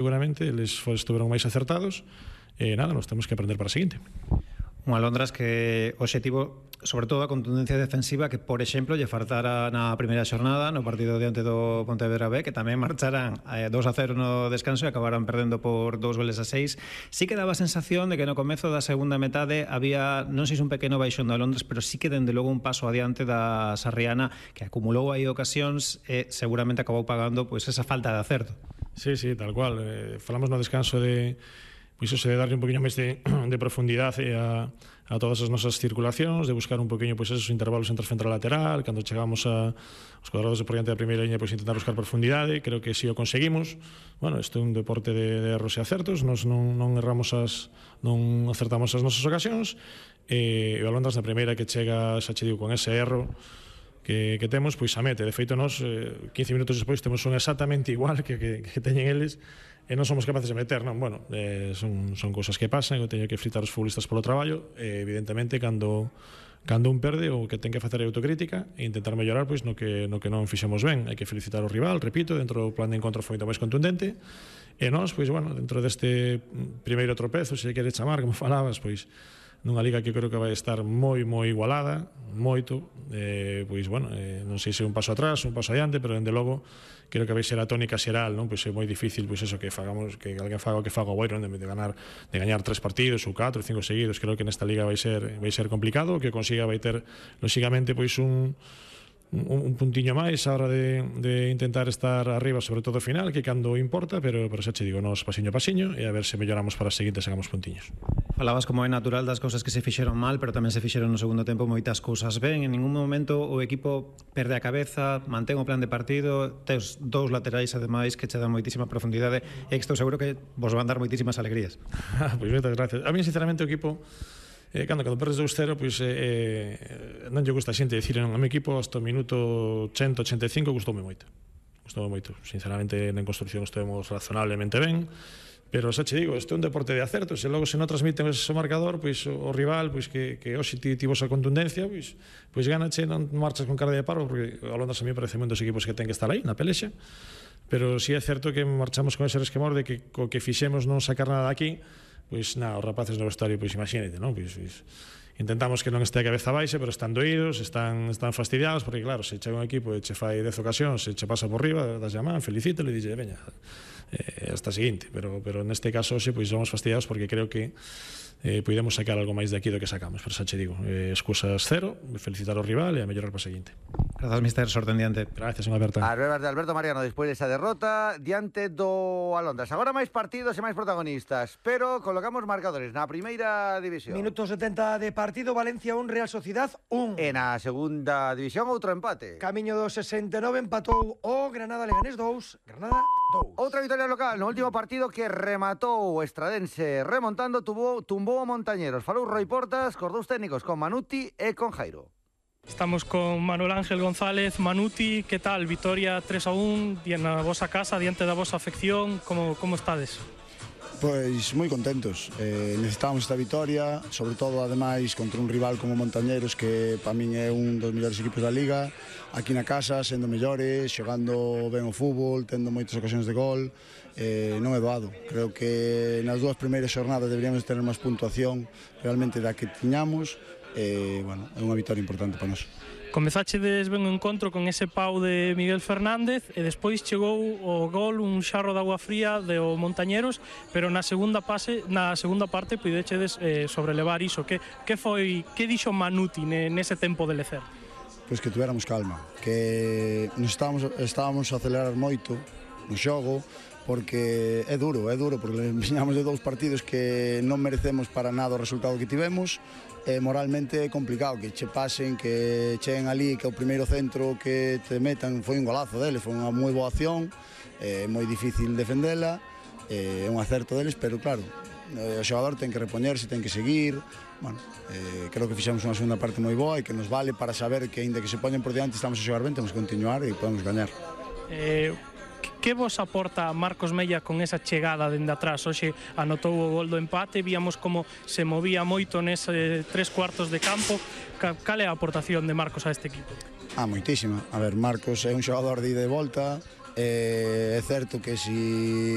seguramente eles estuveron máis acertados e nada, nos temos que aprender para a seguinte. Un Alondras que o obxectivo, sobre todo a contundencia defensiva, que por exemplo lle faltara na primeira xornada no partido diante do Pontevedra B, que tamén marcharan 2-0 no descanso e acabaran perdendo por 2-6. Sí que daba a sensación de que no comezo da segunda metade había, non sei se un pequeno baixón do Alondras, pero sí que dende logo un paso adiante da Sarriana, que acumulou aí ocasións e seguramente acabou pagando pois esa falta de acerto. Sí, tal cual. Falamos no descanso de pois iso de darlle un poquinho máis de profundidade a todas as nosas circulacións, de buscar un poquinho pois esos intervalos entre central e lateral, cando chegamos aos cuadrados de por diante da primeira liña, pois intentar buscar profundidade. Creo que si o conseguimos. Bueno, isto é un deporte de erros e acertos, nos non erramos non acertamos as nosas ocasións, e o Alondras na primeira que chega, xa che digo, con ese erro que temos, pois a mete. De feito, nós 15 minutos despois temos un exactamente igual que teñen eles e non somos capaces de meter, non? Bueno, son cousas que pasan, eu teño que fritar os futbolistas polo traballo, e evidentemente cando un perde, o que ten que facer é autocrítica e intentar mellorar pois no que non fixemos ben. Hai que felicitar o rival, repito, dentro do plan de encontro foi moito máis contundente, e nós, pois bueno, dentro deste primeiro tropezo, se quere chamar, como falabas, pois nunha liga que creo que vai estar moi igualada, moito, pois bueno, non sei se un paso atrás, un paso adiante, pero dende logo creo que vai ser a tónica xeral, non? Pois é moi difícil pois eso que fagamos, que alguén faga o que faga o Boiro, de gañar 3 partidos ou 4 ou 5 seguidos. Creo que nesta liga vai ser complicado, o que consiga vai ter lóxicamente pois un puntiño máis a hora de intentar estar arriba, sobre todo final, que cando importa, pero xa che digo, nos pasiño a pasiño, e a ver se melloramos para a seguinte, sacamos puntiños. Falabas como é natural das cousas que se fixeron mal, pero tamén se fixeron no segundo tempo moitas cousas ben. En ningún momento o equipo perde a cabeza, mantén o plan de partido, tes dous laterais ademais que che dan moitísima profundidade, e estou seguro que vos van dar moitísimas alegrías. Pois moitas gracias. A mí sinceramente o equipo cando perdes 2-0, pois non lle gusta a xente dicir, non, a mi equipo hasta o minuto 185 gustoume moito, sinceramente na construcción estuvemos razonablemente ben, pero xa che digo, este é un deporte de acertos, e logo se non transmiten ese marcador, pois o rival, pois que hoxe tivo esa contundencia, pois ganache, non marchas con cara de paro, porque o Alondras a mí parece un dos equipos que ten que estar aí na pelexa, pero si é certo que marchamos con ese resquemor de que co que fixemos non sacar nada aquí. Pois nada, os rapaces no vestuario, pois imagínate, non? Pois intentamos que non este a cabeza baixe, pero están doídos, están fastidiados, porque claro, se chega un equipo e che fai 10 ocasións, se che pasa por riba, das llamán, felicítelo e dixe, veña, hasta a seguinte, pero neste caso hoxe pois somos fastidiados porque creo que podemos sacar algo máis de aquí do que sacamos, pero xa che digo, excusas cero, felicitar ao rival e a mellorar para a seguinte. Grazas, mister, sorte en diante. Gracias, unha aberta. As verbas de Alberto Mariano despois desa derrota diante do Alondras. Agora máis partidos e máis protagonistas, pero colocamos marcadores na primeira división. Minuto 70 de partido, Valencia 1, Real Sociedad 1. E na segunda división outro empate. Camiño do 69 empatou o Granada Leganés 2, Granada 2. Outra victoria local no último partido que rematou o Estradense remontando, tumbou a Montañeros. Falou Roi Portas cos dous técnicos, con Manuti e con Jairo. Estamos con Manuel Ángel González. Manuti, que tal? Victoria 3-1 na vosa casa, diante da vosa afección, como estades? Pois moi contentos, necesitábamos esta victoria, sobre todo ademais contra un rival como Montañeros, que para min é un dos mellores equipos da Liga, aquí na casa, sendo mellores, xogando ben o fútbol, tendo moitas ocasións de gol, non é doado. Creo que nas dúas primeiras xornadas deberíamos ter máis puntuación realmente da que tiñamos, bueno, é unha victoria importante para nós. Comezachedes ben o encontro con ese pau de Miguel Fernández e despois chegou o gol, un xarro de agua fría de o Montañeros, pero na segunda parte puidechedes sobrelevar iso. Que dixo Manuti nese tempo de lecer? Pois que tuéramos calma, que nos estábamos a acelerar moito no xogo, porque é duro, porque viñamos de dous partidos que non merecemos para nada o resultado que tivemos, e moralmente é complicado que che pasen, que cheguen ali, que o primeiro centro que te metan foi un golazo deles, foi unha moi boa acción, é moi difícil defendela, é un acerto deles, pero claro, o xogador ten que repoñerse, ten que seguir. Bueno, creo que fixemos unha segunda parte moi boa e que nos vale para saber que, aínda que se poñen por diante, estamos a xogar ben, temos que continuar e podemos gañar. Que vos aporta Marcos Mella con esa chegada dende atrás? Hoxe anotou o gol do empate, víamos como se movía moito nese 3/4 de campo. Cal é a aportación de Marcos a este equipo? Moitísima. A ver, Marcos é un xogador de ida e volta, é certo que si